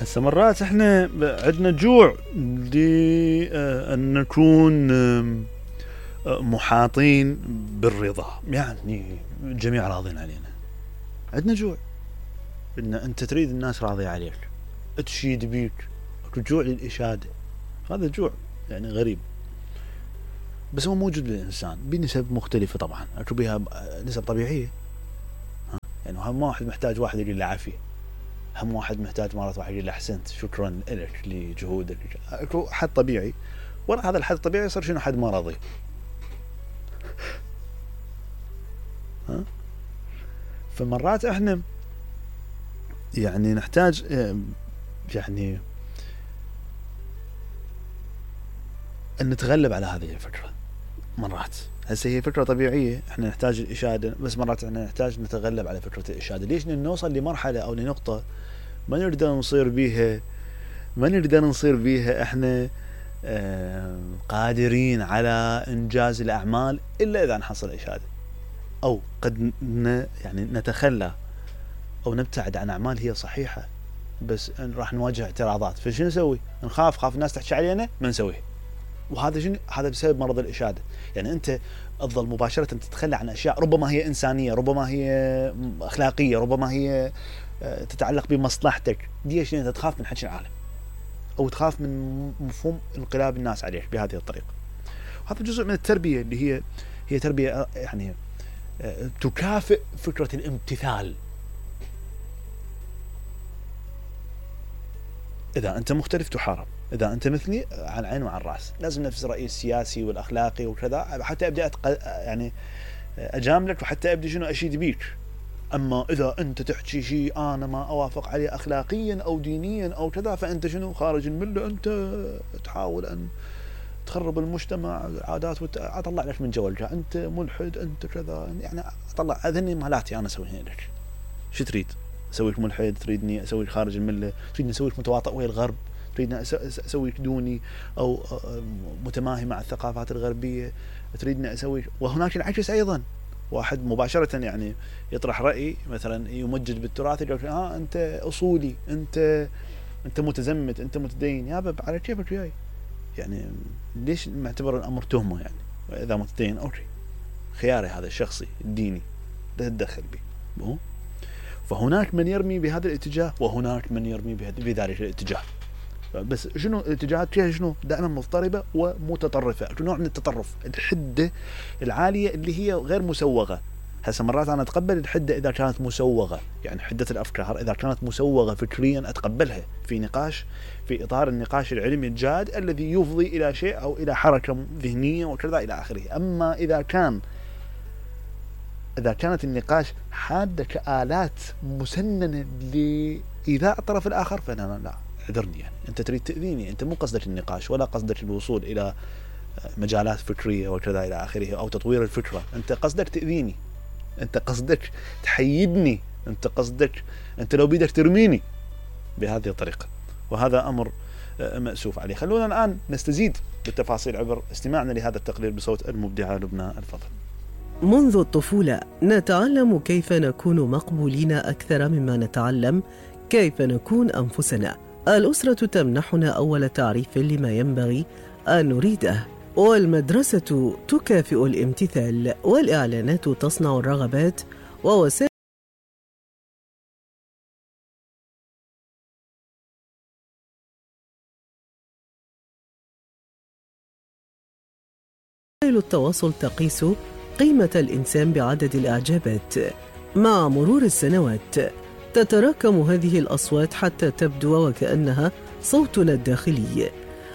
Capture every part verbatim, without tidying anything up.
هسه مرات احنا عندنا جوع لأن نكون محاطين بالرضا، يعني الجميع راضين علينا. عندنا جوع ان انت تريد الناس راضية عليك، تشيد بيك، جوع للإشادة. هذا جوع يعني غريب، بس هو موجود بالإنسان بنسب مختلفة طبعا، اكو بها نسب طبيعية. يعني هم واحد محتاج واحد يقول له عافية، هم واحد محتاج مرات واحد يقول له احسنت شكرا لك لجهودك. اكو حد طبيعي، ورا هذا الحد الطبيعي يصير شنو؟ حد مرضي. ها؟ فمرات احنا يعني نحتاج يعني ان نتغلب على هذه الفكرة. مرات هسه هي فكرة طبيعية، احنا نحتاج الإشادة، بس مرات احنا نحتاج نتغلب على فكرة الإشادة. ليش؟ نوصل لمرحلة او لنقطة ما نقدر نصير بيها ما نقدر نصير بيها احنا اه قادرين على انجاز الاعمال الا اذا نحصل إشادة، او قد ن يعني نتخلى او نبتعد عن اعمال هي صحيحة بس راح نواجه اعتراضات. فشنو نسوي؟ نخاف خاف الناس تحكي علينا ما نسويه. وهذا شنو؟ هذا بسبب مرض الإشادة. يعني انت تظل مباشرة تتخلى عن اشياء ربما هي انسانية، ربما هي اخلاقية، ربما هي تتعلق بمصلحتك. ليش؟ انت تخاف من حكي العالم او تخاف من مفهوم انقلاب الناس عليك بهذه الطريقة. وهذا جزء من التربية اللي هي هي تربية يعني تكافئ فكرة الامتثال. إذا أنت مختلف تحارب، إذا أنت مثلي على العين وعلى الرأس. لازم نفس الرأي السياسي والأخلاقي وكذا حتى أبدأ أتق... يعني أجاملك وحتى أبدأ شنو أشيد بيك. أما إذا أنت تحكي شيء أنا ما أوافق عليه أخلاقيا أو دينيا أو كذا فأنت شنو؟ خارج الملة، أنت تحاول أن تخرب المجتمع، عادات وت... أطلع لك من جولك، أنت ملحد، أنت كذا. يعني أطلع أذني مالاتي أنا أسويها لك. شو تريد؟ أسويك ملحد؟ تريدني أسويك خارج الملة؟ تريدني أسويك متواطئ ويا الغرب؟ تريدني أسويك دوني أو متماهي مع الثقافات الغربية؟ تريدني أسويك. وهناك العكس أيضا، واحد مباشرة يعني يطرح رأي مثلا يمجد بالتراث، يقول ها أنت أصولي، أنت أنت متزمت، أنت متدين. يا باب على كيفك وياي؟ يعني ليش معتبر الأمر تهمة؟ يعني إذا متدين أوكي، خياري هذا الشخصي الديني لا تتدخل به. فهناك من يرمي بهذا الاتجاه وهناك من يرمي بذلك الاتجاه. بس شنو الاتجاهات فيها؟ شنو؟ دائما مضطربة ومتطرفة. نوع من التطرف، الحدة العالية اللي هي غير مسوغة. هسه مرات أنا أتقبل الحدة إذا كانت مسوغة، يعني حدة الأفكار إذا كانت مسوغة فكريا أتقبلها في نقاش، في إطار النقاش العلمي الجاد الذي يفضي إلى شيء أو إلى حركة ذهنية وكذا إلى آخره. أما إذا كان إذا كانت النقاش حادة كآلات مسننة لإيذاء الطرف الآخر فأنا لا، اعذرني، يعني أنت تريد تأذيني، أنت مو قصدك النقاش ولا قصدك الوصول إلى مجالات فكرية وكذا إلى آخره أو تطوير الفكرة. أنت قصدك تأذيني، أنت قصدك تحيدني، أنت قصدك أنت لو بيدك ترميني بهذه الطريقة. وهذا أمر مأسوف عليه. خلونا الآن نستزيد بالتفاصيل عبر استماعنا لهذا التقرير بصوت المبدعة لبنى الفضل. منذ الطفولة نتعلم كيف نكون مقبولين أكثر مما نتعلم كيف نكون أنفسنا. الأسرة تمنحنا أول تعريف لما ينبغي أن نريده، والمدرسة تكافئ الامتثال، والإعلانات تصنع الرغبات، ووسائل التواصل تقيس قيمة الإنسان بعدد الإعجابات. مع مرور السنوات تتراكم هذه الأصوات حتى تبدو وكأنها صوتنا الداخلي.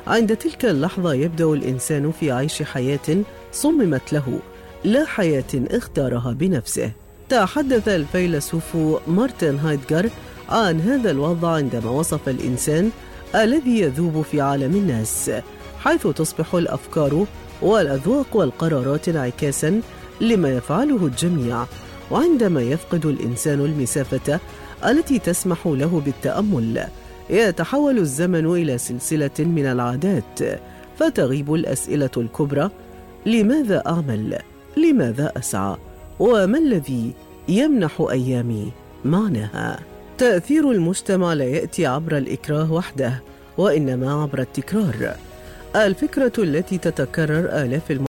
عند تلك اللحظة يبدأ الإنسان في عيش حياة صممت له، لا حياة اختارها بنفسه. تحدث الفيلسوف مارتن هايدغر عن هذا الوضع عندما وصف الإنسان الذي يذوب في عالم الناس، حيث تصبح الأفكار والأذواق والقرارات انعكاسا لما يفعله الجميع. وعندما يفقد الإنسان المسافة التي تسمح له بالتأمل يتحول الزمن إلى سلسلة من العادات، فتغيب الأسئلة الكبرى: لماذا أعمل؟ لماذا أسعى؟ وما الذي يمنح أيامي معناها؟ تأثير المجتمع لا يأتي عبر الإكراه وحده، وإنما عبر التكرار. الفكرة التي تتكرر آلاف المرات